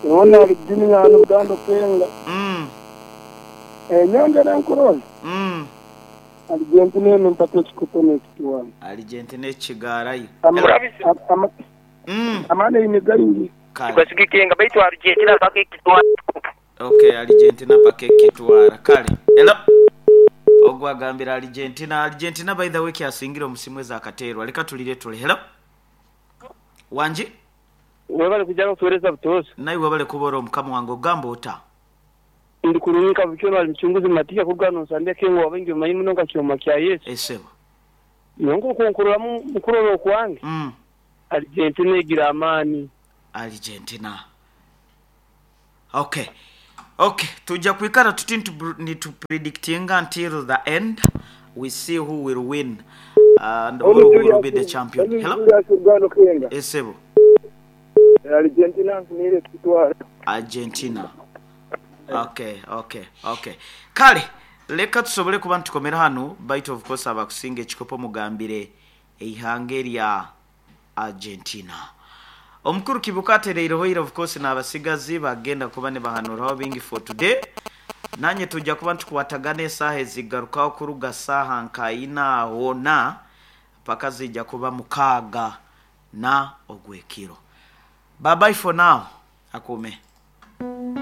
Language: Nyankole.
Hoona ali Junior hanu Buganda Okenga. Nyongera enkurola. Argentina eno mpaka ekikopo nekitwara. Argentina ekigaarayo. Amaani eine gaingi. Kale. Tugasigike nga baitu Argentina mpaka ekitwara ekikopo. Ok Argentina paka ekitwara. Kale. Hello. Ogwo agambire Argentina. Argentina by the way kyasingire omusimu ezakateerwa. Leka tulire tule. Hello. Wangi? Webale kwija n'okutuwereza butoosha. Naiwe webale kuba ori omukama wange. Ogamba ota? Ndi kurungi nka bukyo nari Mucunguzi Matia kuruga hanu Nsambya Kengo wabaingi bamanyi muno nka Kyoma kya Yesu. Esebo. Nyowe nkoku nkuroramu mukurora okwange, Argentina egire amaani. Argentina. Ok. Ok, tuja kwikara tuti nitu predictinga until the end, we see who will win and or who will be the champion. Hello? Julius Rugando Kenga. Esebo. Argentina nfunire ekitwara. Argentina. Ok, ok, ok. Kale, leka tusobole kuba nitukomera hanu, baitu of course abakusinga ekikopo mugambire eihanga erya Argentina. Omukuru Kibuka atereireho ira of course nabasigazi bagenda kuba nibahanuraho bingi for today. Nanye tuja kuba nitukwatagana esaaha ezigarukaho kuruga saaha nka ina aho na paka zija kuba mukaaga na ogwekiro. Bye bye for now. Akuume.